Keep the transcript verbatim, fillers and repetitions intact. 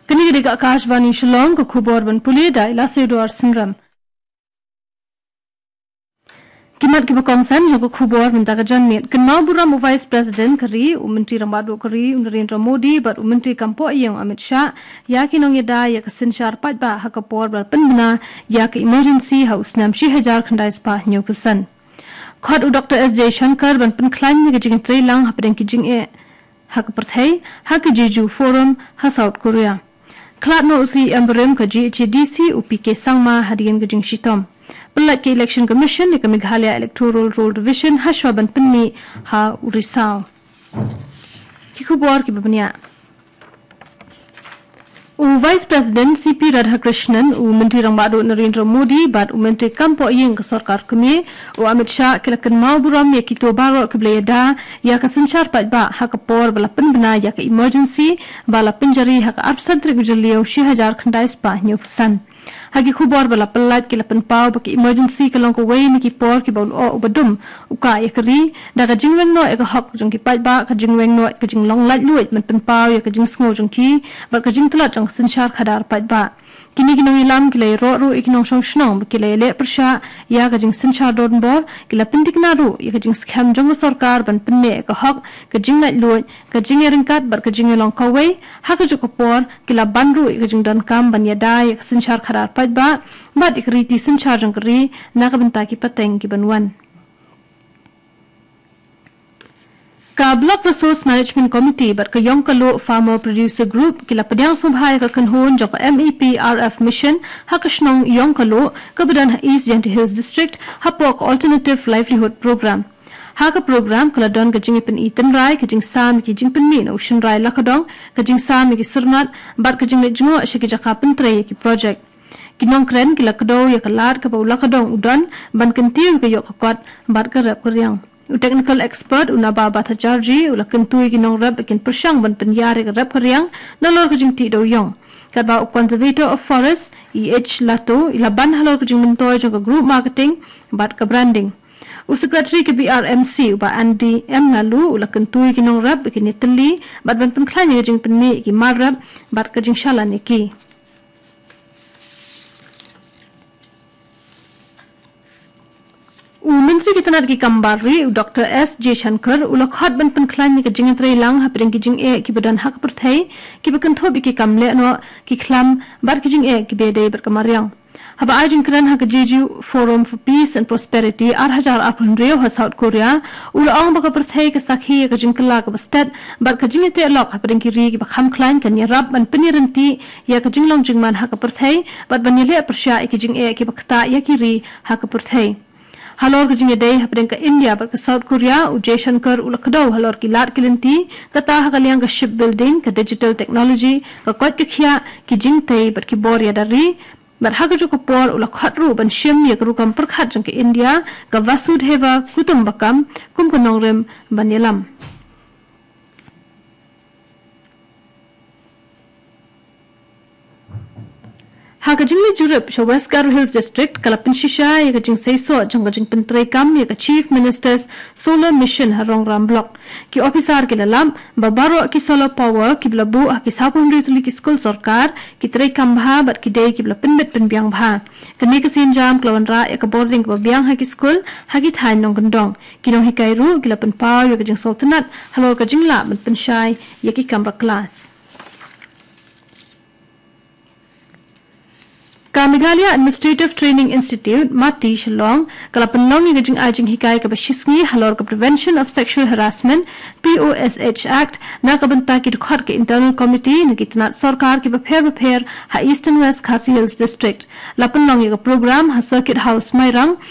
Kane ka dei ka Akashvani Shillong, ka khubor ban pule da i Lasewdor Synrem. Ki mat kiba kongsan jong ka khubor mynta ka janmiet. Kynmaw burom u Vice President ka ri, u Myntri Rangbah Duh ka ri, u Narendra Modi, bad u Myntri Kam Pohïing Amit Shah, ïa ki nongïada ïa ka synshar paidbah ha ka por ba la pynbna ïa ka emergency ha u snem shi hajar khyndai spah hynñiewphew san. Khot u Doctor S Jaishankar ban pynkhlaiñ ïa ka jingtreilang hapdeng ki jingeh ha ka pyrthei, ha ka Jeju Forum ha South Korea. Khlad noh u C E M barim ka G H A D C u P K Sangma hadien ka jingshitom. Pynlait ka Election Commission ïa ka Meghalaya Electoral Roll Revision hashwa ban pynmih ha u Risaw. Ki khubor kiba bniah. U Vice President C P Radhakrishnan, u Myntri Rangbah Duh Narendra Modi, bad u Myntri Kam Pohïing ka Sorkar Kmie, u Amit Shah, ki la kynmaw burom ïa kito baroh kiba la ïada ïa ka synshar paidbah ha ka por ba la pynbna ïa ka emergency ba la pynjari ha ka arphew san tarik u Jylliew shi hajar khyndai spah hynñiewphew san. Ha ki khubor ba la pynlait ki la pynpaw ba ka emergency ka long kawei na ki por kiba u lyoh uba dum u kah ïa ka ri, da ka jingweng noh ïa ka hok jong ki paidbah, ka jingweng noh ïa ka jinglong laitluid ban pynpaw ïa ka jingsngew jong ki, bad ka jingtlot jong ka synshar khadar paidbah. Kine ki nongïalam ki la ïaroh ruh ïa ki nongshong shnong ba ki la ïaleh pyrshah ïa ka jingsynshar donbor, ki la pynthikna ruh ïa ka jingskhem jong ka sorkar ban pynneh ïa ka hok, ka jinglaitluid, ka jingïaryngkat bad ka jingïalong kawei, ha kajuh ka por ki la ban ruh ïa ka jingdonkam ban ïada ïa ka synshar khadar paidbah bad ïa ka riti synshar jong ka ri na ka bynta ki pateng kiban wan. Ka Block Resource Management Committee bad ka Ïong Kaloh Farmer Producer Group ki la pdiang sngewbha ïa ka kynhun jong ka M E P R F Mission ha ka shnong Ïong Kaloh kaba don ha East Jaintia Hills District hapoh ka Alternative Livelihood Program. Ha ka program ka la don ka jingïapyni tynrai, ka jingsam ïa ki jingpynmih na u shynrai lakadong, ka jingsam ïa ki syrnat bad ka jingleit jngoh sha ki jaka pyntrei ïa ki projek. Ki nongkren ki la kdew ïa ka lad kaba u lakadong u don ban kyntiew ïa ka ïoh ka kot bad ka rep ka riang. U technical expert u Naba Bhattacharjee u la kyntu ïa ki nongrep ba kin pyrshang ban pynïar ïa ka rep ka riang nalor ka jingtih da u ïong. Katba u Conservator of Forest, E H Lato, i la ban halor ka jingmyntoi jong ka group marketing bad ka branding. U Secretary ka B R M C, u Bah Andy M Laloo, u la kyntu ïa ki nongrep ba kin ïatylli bad ban pynkhlaiñ ïa ka jingpynmih ïa ki mar rep bad ka jingshalan ïa ki. U Myntri ka tnat ki kam bar ri, u Doctor S Jaishankar, u la khot ban pynkhlaiñ ïa ka jingïatreilang hapdeng ki jingeh kiba don ha ka pyrthei, kiba kynthup ïa ki kam lehnoh, ki khlam bad ki jingeh kiba ïadei bad ka mariang. Haba ai jingkren ha ka Jeju Forum for Peace and Prosperity ar hajar arphew hynriew ha South Korea, u la ong ba ka pyrthei ka sakhi ïa ka jingkylla kaba stet bad ka jingïateh lok hapdeng ki ri kiba kham khlaiñ kan ïarap ban pynïaryntih ïa ka jinglong jingman ha ka pyrthei bad ban ïaleh pyrshah ïa ki jingeh kiba ktah ïa ki ri ha ka pyrthei. Halor ka jingïadei hapdeng ka India bad ka South Korea, u Jaishankar u la kdew halor ki lad ki lynti, kata ha ka liang ka shipbuilding, ka digital technology, ka koit ka khiah, ki jingtei bad ki bor ïada ri, bad ha kajuh ka por u la khot ruh ban shim ïa ka rukom pyrkhat jong ka India, ka Vasudhaiva Kutumbakam, kum ka nongrim ban ïalam. Ha ka jingleit jurip sha West Garo Hills District, ka la pynshisha ïa ka jingseisoh jong ka jingpyntreikam ïa ka Chief Minister's Solar Mission ha Rongram Block. Ki ophisar ki la lap ba baroh ki solar power kiba la buh ha ki sawphew hynriew tylli ki skul sorkar ki treikam bha bad ki dei kiba la pynbit pynbiang bha. Kane ka sienjam ka la wanrah ïa ka bording kaba biang ha ki skul ha ki thaiñ nongkyndong. Ki nonghikai ruh ki la pynpaw ïa ka jingsngewtynnat halor ka jinglah ban pynshai ïa ki kamra klas. Ka Meghalaya Administrative Training Institute, MATI, Shillong, ka la pynlong ïa ka jingai jinghikai kaba shisngi halor ka Prevention of Sexual Harassment, P O S H Act, na ka bynta ki dkhot ka Internal Committee na ki tnat sorkar kiba pher bapher ha Eastern West Khasi Hills District. La pynlong ïa ka program ha Circuit House Mairang,